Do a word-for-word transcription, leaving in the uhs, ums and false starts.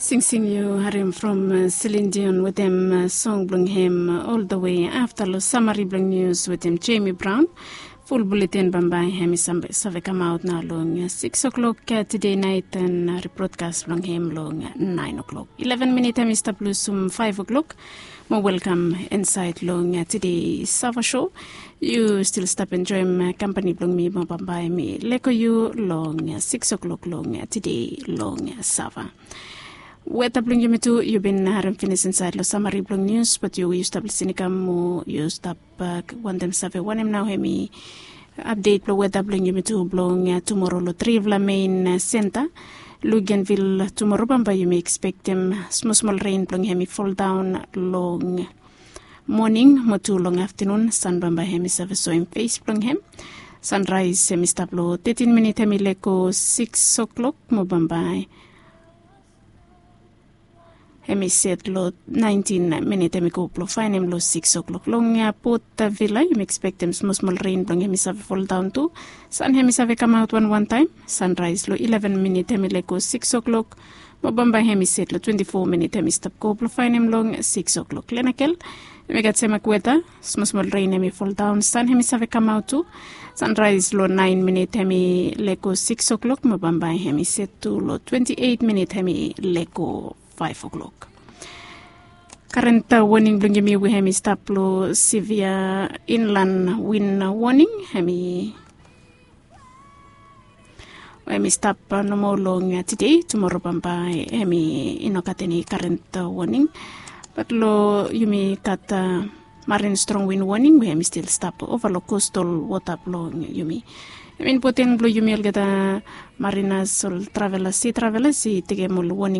Singsing yu harim from Celine Dion wetem song blong hem ol da we afta long samari blong nius wetem Jamie Brown. Ful buletin bambae hem i save kamaot nao long siks o'klok tede nait, an ribrodkas blong hem long naen o'klok. Ileven minit hem i stap lusum faef o'klok. Mo welkam insaed long tede sava sho. Yu stil stap enjoem kampani blong mi mo bambae mi leko yu long siks o'klok long tede long sava. Weta blong yumi tu yu bin harim finis insaed long samari blong nius, bat yu yu stap lisin i kam mo yu stap wantem save wanem nao hem i apdet blong weta blong yumi tu blong tumoro long trifala mein senta. Lugenvil tumoro bambae yumi ekspektem smosmol ren blong hem i foldaon long moning mo tu long aftanun. San bambae hem i save soem fes blong hem. Sanraes hem i stap long tetin minit hem i lego siks o'klok mo bambae hem i set long naentin minit hem i go blong faenem long siks o'klok long pot vila yumi ekspektem smosmol ren blong hem i save foldaon tu. San hem i save kamaot wanwantaem. Sanraes long ileven minit hem i lego siks o'klok mo bambae hem i set long twenti fo minit hem i stap go blong faenem long siks o'klok lenakel. Hem i gat semak weta. Smosmol ren hem i foldaon san hem i save kamaot tu. Sanraes long naen minit hem i lego siks o'klok mo bambae hem i set tu long twenti eit minit hem i lego faef o'klok. Karen woning blong yumi we hem i stap long sivia inlan win woning hem i we hem i stap nomo long tede. Tumoro bambae hem i no gat eni karen woning. Bat long yumi gat marin strong win woning we hem i stil stap ova long kostal wota blong yumi. Hem i impoten blong yumi olgeta marinas ol travelas si travelas i tekem ol woning